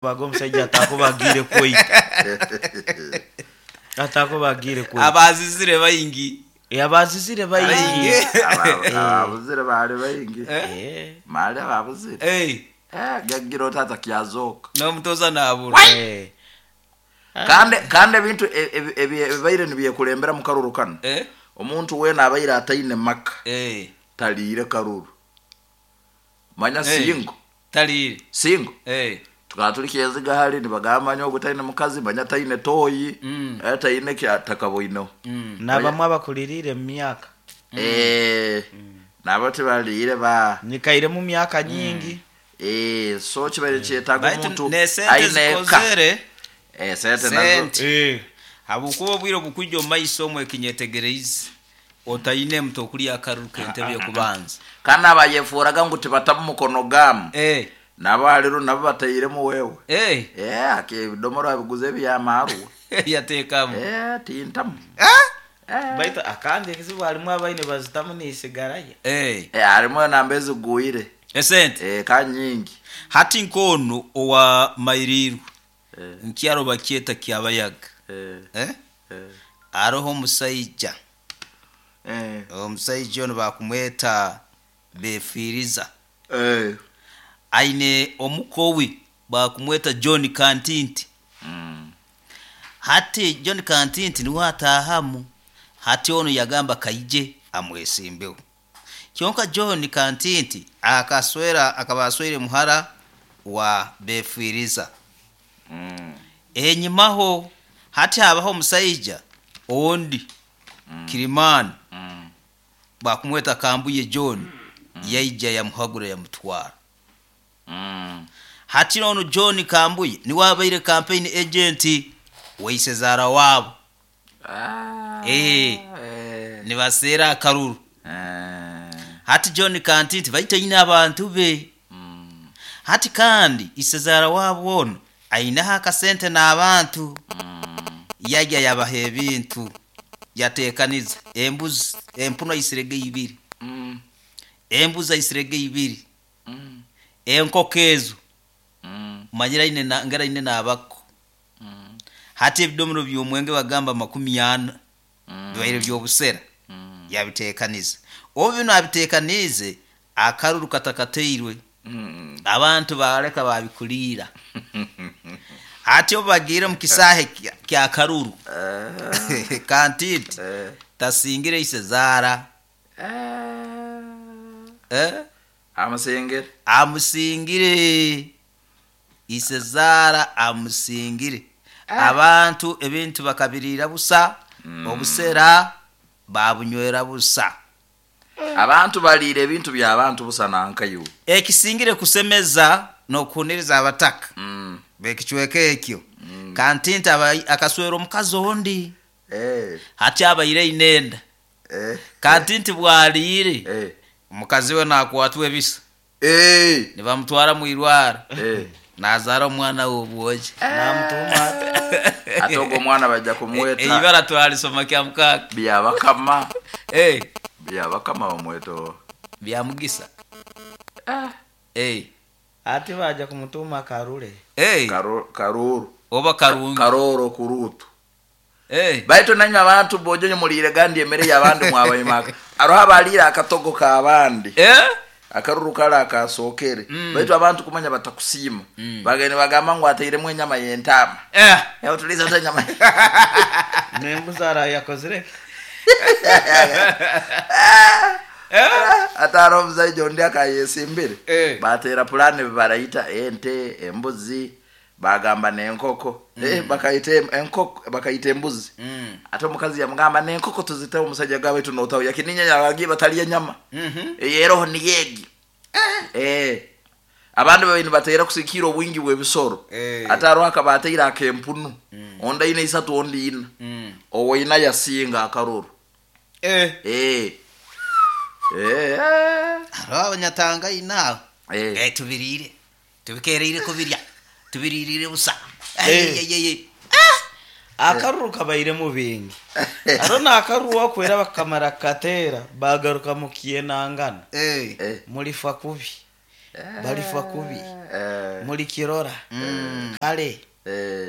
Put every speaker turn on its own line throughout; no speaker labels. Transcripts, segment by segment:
Baga omusaija atakuba agiire kwita. Atakuba agiire kwita.
Abazizire baingi.
Abazizire baingi.
Ababuzire baali baingi.
Eh.
Mali ababuzire.
Eh,
Eh, gagira oti atakyazoka.
N'omutoza nabura.
Eh.
Kandi ebintu ebibaire nibyekulembera mu karuru kano.
Eh?
Omuntu weena abaire ataine maka
Eh.
taliire karuru. Manya
Eh.
singo.
Taliire.
Singo.
Eh.
Tukaba tuli kyeziga hali nibagamba manya ogu taine mukazi, manya taine toyi, taine kyatakaboineho.
N'abamwe abakuliriire mu myaka.
Eh, nabo tibaliire ba
Nyikaire mu myaka nyingi.
eh, so kibaire kyetaaga
Baitu
omuntu
nesente
aine eka.
zikozere.
Eh, sente nazo.
Sente.
Eh.
Habwokuba obwire obukwija omu maiso omwe ekinyetegereize otaine muto okulya akaruru k'entebe y'okubanza.
Kandi abayefuraga ngu tibatamu mukono gamu.
Eh.
Nabo haliru nabo batairemu wewe.
Eh.
Eh, ake ebidomora abiguze ebyamaarwa.
Yateekamu.
Eh, tintamu.
Eh?
Baitu akandi ekizibu harimu abaine bazitamu nisigarayo.
Eh.
Eh, harimu enamba ezigwire.
Esente.
Eh, ka nyingi.
Hati nk'onu owa Mairirwe
Eh.
nkyaro bakyeta Kyabayaga.
Eh.
Eh?
Eh.
Aroho omusaija.
Eh.
Omusaija onu bakumweta Befiiriza.
Eh.
Aine omukowi bakumweta John Kantinti. Hati John Kantinti niwe ataahamu. Hati onu yagamba kaije amwesimbeho. Kyonka John Kantinti akaswera akaba aswere muhara wa Befiiriza. Enyimaho hati habaho omusaija ondi Kirimani bakumweta Kambuye John yaija yamuhagura yamutwara. Hati ono John Kambuye niwe abaire campaign agent waisezara wabo.
Ah.
Eh.
Eh.
Nibaseera akaruru.
Eh.
Hati John Kantinti baita aine abantu be. Hati kandi isezara wabo ono aineho akasente n'abantu. Yajya yabaha ebintu yateekaniza embuzi empunu aisirege ibiri. Embuzi aisirege ibiri. Enkoko ezo manyira aine na, ngara aine n'abako. Hati ebidomero by'omwenge bagamba 40 bibaire by'obusera. Yabiteekaniza. Obu bino abiteekaniize akaruru katakateirwe. Abantu bareka babikuliira. Hati obu bagiire mu kisaahe kya karuru. Kantinti
Eh.
tasingire isezaara.
Eh.
Eh?
Amusingire.
Amusingire. Isezaara amusingire. Abantu ebintu bakabiriira busa, obusera babunywera busa.
Abantu baliire ebintu by'abantu busa nankayo.
Ekisingire kusemeza n'okuhuniriza abataka. Bekicweka ekyo. Kantinti akaswera omukazi ondi.
Eh.
Hati abaire ainenda.
Eh.
Kantinti bwaliire.
Eh.
Omukazi we nakwatwa ebisa.
Eh.
Nibamutwara mu irwaro.
Eh.
Nazaara omwana w'obwogi.
Namutuma ate.
Ate ogwo omwana bajja kumweta.
Eibara twalisoma kya mukaaga.
Byabakama.
Eh.
Byabakama bamweta.
Byamugisa. Eh.
Ate baja kumutuma Karure.
Eh.
Karuru.
Oba Karungi.
Karoro kurutu.
Eh.
Baitu nanywe abantu bojonyo muliire gandi emere y'abandi mwabayimaka. Aroho abaliire akatogo k'abandi.
Eh?
Akaruru kala akasookere. Baitu abantu kumanya batakusiima. Bagende bagamba ngu atairemu enyama y'entaama.
Eh.
Ewe tuliza ota enyama.
N'embuzi arayakozire.
Ate hariho omusaija ondi akayesimbire.
Eh.
Bateera pulaani barayita ente, embuzi, bagamba n'enkoko. Eh, bakayita enkoko, bakayita embuzi. Ate omukazi yamugamba n'enkoko tuziteho omusajja gaba baitu n'otaho yakininya yabagiye batalya enyama. Eroho niyeegi. Eh. Abandi babaire nibateera kusikiira obwingi bw'ebisoro.
Eh.
Ate hariho akaba ateire ak'empunu. Ondi aine isatu ondi ina. Owoina yasinga akaruru.
Eh.
Eh. Eh.
Hariho abanyatanga inaabo.
Eh.
Eh, tubiriire. Tubikereire kubirya. Tubiririre busa.
Eh.
Eh.
Akaruru kabairemu bingi. Hariho n'akaruru wakwera bakamara kateera bagaruka mukiyenangana.
Eh.
Eh.
Mulifa kubi. Balifa kubi. Mulikirora kale.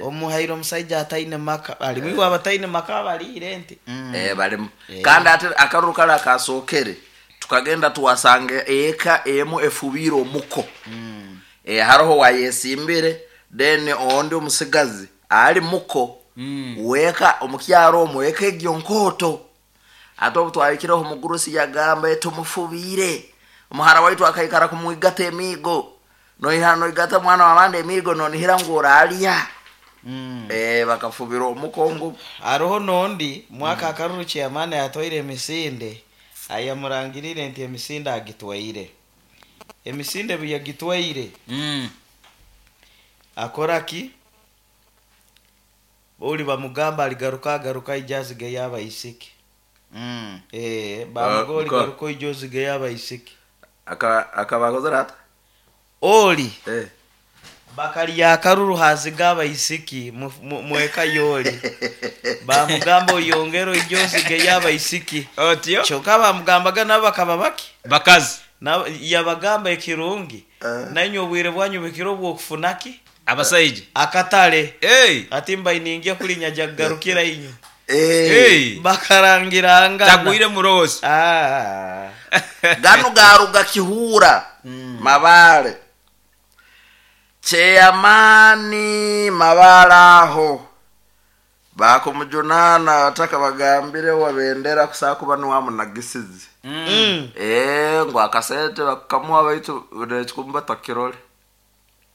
Omuhaire omusaija ataine maka, alimu iwe abataine maka baliire ente.
Balimu. Kandi ate akaruru kale akasookere tukagenda twasanga eka emu efubiire omuko. Haroho wayesimbire, then ondi omusigazi ali muko weka omukyaro omwo eka egyo nkooto. Ate obu twahikireho omugurusi yagamba, tumufubiire omuhara waitu akaikara kumwigata emiigo, noiha noigata mwana w'abandi emiigo nonihira ngu oraalya. Bakafubira omuko ngu
Haroho nondi mwaka akaruru chairman yatwaire emisinde, ayamurangirire nti emisinde agitwaire, emisinde ebu yagitwaire, akora ki? Oli bamugamba aligaruka, agaruka aija azigeyo abaisiki. Bamuga oli, garuka oija ozigeyo abaisiki.
Akaba akozere ata?
Oli bakalya akaruru haziga abaisiki mweka yoli, bamugamba oyongere oije ozigeyo abaisiki.
Otyo.
Kyokka bamugambaga nabo bakaba baki?
Bakazi.
Yabagamba ekirungi, nainywe obwire bwanyu bukiro obwokufuna ki?
Abasaija.
Akatale.
Hey.
Ati mbainingia kulinya jakugarukira inywe.
Hey.
Bakarangirangana.
Tagwire murosi.
Gano garuga Kihura, Mabale chairman Mabale aho bakumujunana ataka bagambire wabendera kusakuba niwamunagisizi. Ngu akasente bakamuha baitu nekikumba takirole.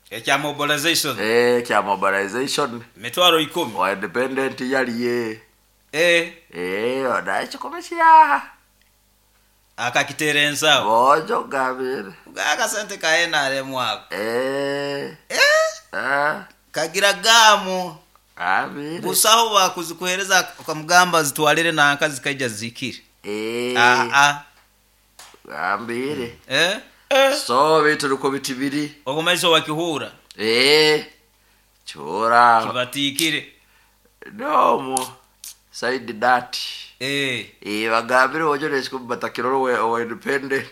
Ekya mobilization.
Kya mobilization.
Mitwaro 10.
Wa independent yaliye. Oda ekikumi kiyaha.
Akakitera ensawo.
Bojo gabire.
Akasente ka NRM ako. Kagira gamu.
Abire.
Busaho bakuzikuhereza ukamugamba zitwalire nanka zikaija zikire.
Ambire. So bitu ruko bitibiri.
Okumaiso wa Kihura.
Chura.
Kibatikire.
No mo. Side that. Bagambire ojo nesikumbata kiroro we independent.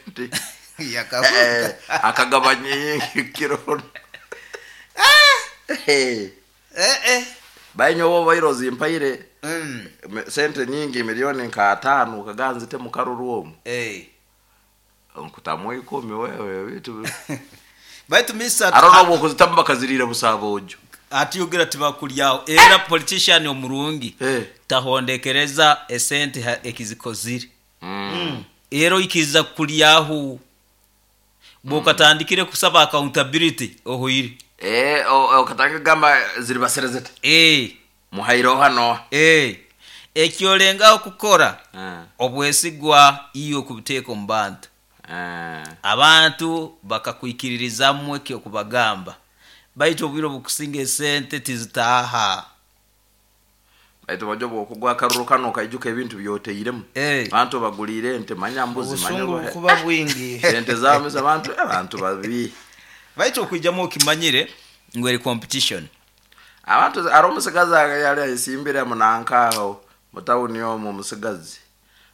Yakavuga.
Akagabanya kiroro. Bainyo bo bairozi mpaire. Sente nyingi milioni nka 5 ukaganzite mu karuru omu. Nkutamu 10 wewe bitu.
Baitu misa
Arono bo kuzitamba bakazirira busabojo.
Atiyugira tibakulyaho era politician omurungi. Tahondekereza esente ekizikozire. Ero ikiza kulyaho. Bokatandikire kusaba accountability ohoire.
Okatanga gamba ziri baserezete. Muhairo hano.
Ekyolenga okukora. Obwesigwa iyo kubiteka mu bantu. Abantu bakakwikiririzamwe ekyo kubagamba. Baitu obwire obukusinga esente tizitaha.
Baitu bajjo bwokugwa akaruru kano kaijuka ebintu byoteiremu. Abantu bagulire ente manya mbuzi manya
obusungu bukuba bwingi.
Ente zaameza abantu babi.
Baitu okwijamu okimanyire ngu eri competition.
Abantu ari omusigazi yali ayisimbire munankaho mutawuni omwo omusigazi.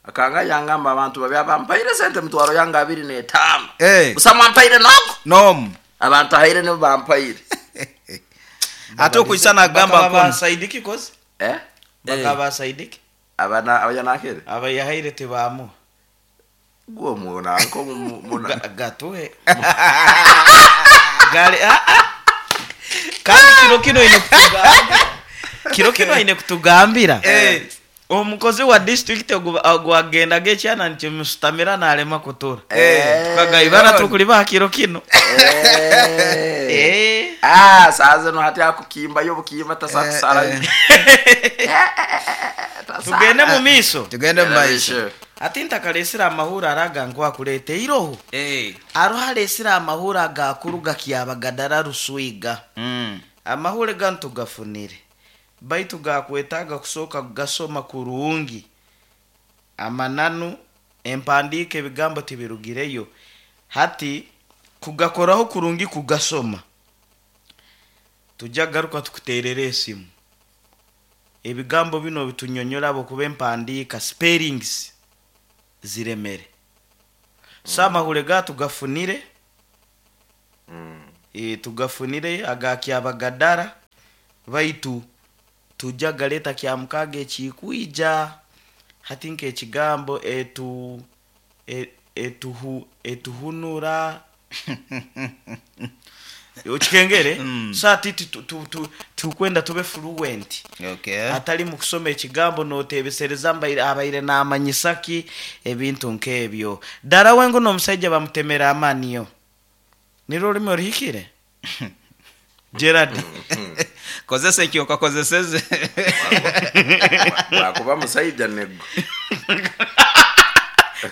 Akanga yangamba abantu babi abampaire sente mutwaro yanga 25. Busa mwampaire nogo?
Nomu.
Abantu ahaire nibo bampaire.
Ate okuisana agamba
Bakaba
kono.
basaidiki kozi? Bakaba basaidiki?
Abana abayanakere?
Abayahaire tebamu.
Gwo muna nko muna.
Gatuhe. Gari, Kandi kiro kino ine kutugambira. Kiro kino ine kutugambira. Omukozi wa district ogwagenda gekyana nkimusutamira nalema kutura. Tukagayibana tukuliba kiro kino.
Saze no hati akukimba yo bukimba tasakusara.
Tugende mu miso.
Tugende mu maiso.
Ati ntakalesera amahura araga nkwakulete iroho. Arohalesera amahura agakuruga kyabagadara ruswiga. Amahure gantugafunire. Baitu gakwetaga kusoka gasoma kurungi. Amananu empandike ebigambo tibirugireyo. Hati kugakoraho kurungi kugasoma. Tujja garuka tukuterere esimu. Ebigambo bino bitunyonyola abo kuba empandika spellings ziremere. Sa amahule gatugafunire. Tugafunire aga Kyabagadara, baitu tujja galeta Kyamukaga ekikwija. Hati nk'ekigambo etu etuhu etuhunura okikengere. So ati tukwenda tube fluent.
Okay.
Atali mu kusoma ekigambo notebesereza mbaire abaire namanyisaki, ebintu nk'ebyo. Ddala wengu n'omusajja bamutemera amaniyo, nirwo olulimi oruhikire, Gerard?
Kozesa ekyo okakozeseze.
Bwakuba musaija nego.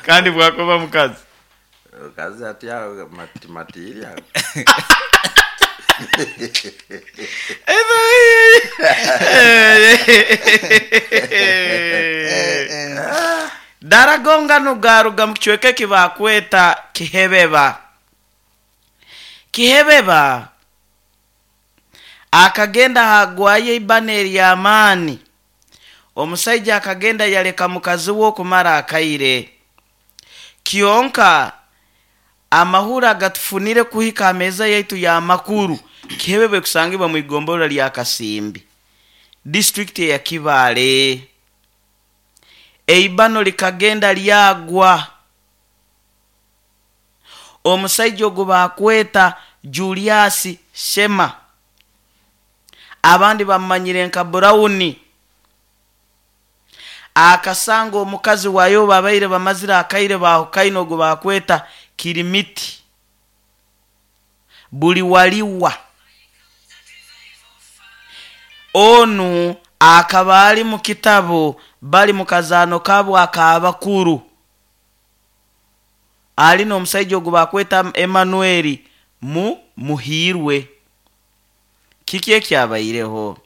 Kandi bwakuba mukazi?
Kazi atya matimatiri ago.
Daragongano garuga mu kicweka eki bakweta Kihebeba. Kihebeba akagenda hagwayo eibana ery'amaani. Omusaija akagenda yaleka mukazi we okumara akaire. Kyonka amahuri agatufunire kuhika ameza yaitu y'amakuru, Kihebeba ekusangibwa mu igombolola lya Kasimbi, disitulikiti eya Kibaale. Eibano likagenda lyagwa. Omusaija ogu bakweta Julius Shema, abandi bamumanyire nka Burawuni, akasanga omukazi wayo babaire bamazire akaire bahukaine, ogu bakweta Kirimiti buli waliwa. Onu akaba ali mu kitabu, bali mu kazaano kabo ak'abakuru, ali n'omusaija ogu bakweta Emanueli mu Muhiirwe. Kiki ekyabaireho?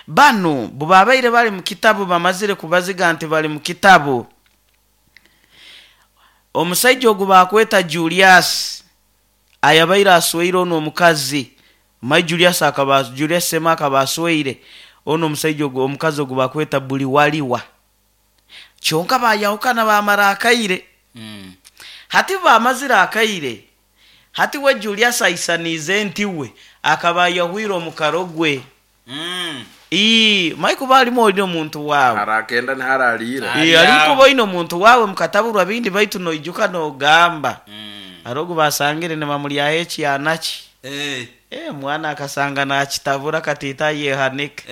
Banu bubabaire bali mu kitabu, bamazire kubaziga nti bali mu kitabu. Omusaija ogu bakweta Julius ayabaire asweire ono omukazi mai Julius, akaba Julius Sema akaba asweire ono omusaija ogu, omukazi ogu bakweta buli waliwa. Kyonka bayahukana bamara akaire. Hati bamazire akaire, hati we Julius aisaniize nti we akaba ayahwire omukaro gwe. Mai kuba alimu oli omuntu wawe.
Harakenda niharaliira.
Ali kuba oine omuntu wawe mukataburwa bindi, baitu noijuka nogamba arogu basangire nibamulyaho ekyanaki. Mwana akasanga nakitabura katita yehanika.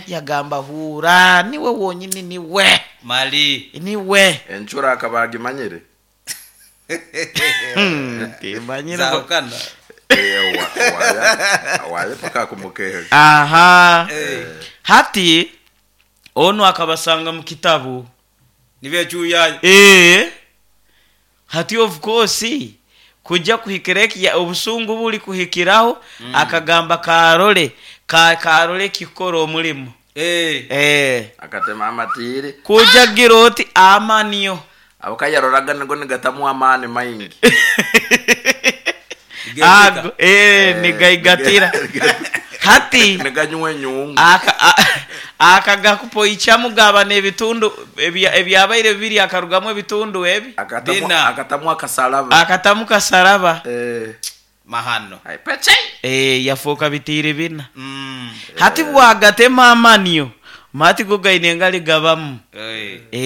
Yagamba, "Huura, niwe wonyini, niwe."
Mali.
Niwe.
Encura akaba agimanyire.
Timanyire.
Zahukana.
Waye paka kumukehe.
Aha, hati onu akabasanga mu kitabu.
Nibecuyayo.
Hati of course kujja kuhikira eki obusungu buli kuhikiraho, akagamba karole karole kikora omulimu.
Akatema amatiri.
Kuja gira oti amaniyo.
Abo kayaroraga nigo nigatamu amaani maingi.
Ago nigaigatira hati.
Niganywa enyungu.
Akagakupoichamu gaba n'ebitundu ebyabaire bibiri, akarugamu ebitundu ebi.
Akatamu.
Bina.
Akatamu akasalaba.
Akatamu kasaraba.
Mahano.
Ai, peche.
Yafuuka bitiiri bina. Hati bwagatema amaniyo mati go gaine engali gabamu.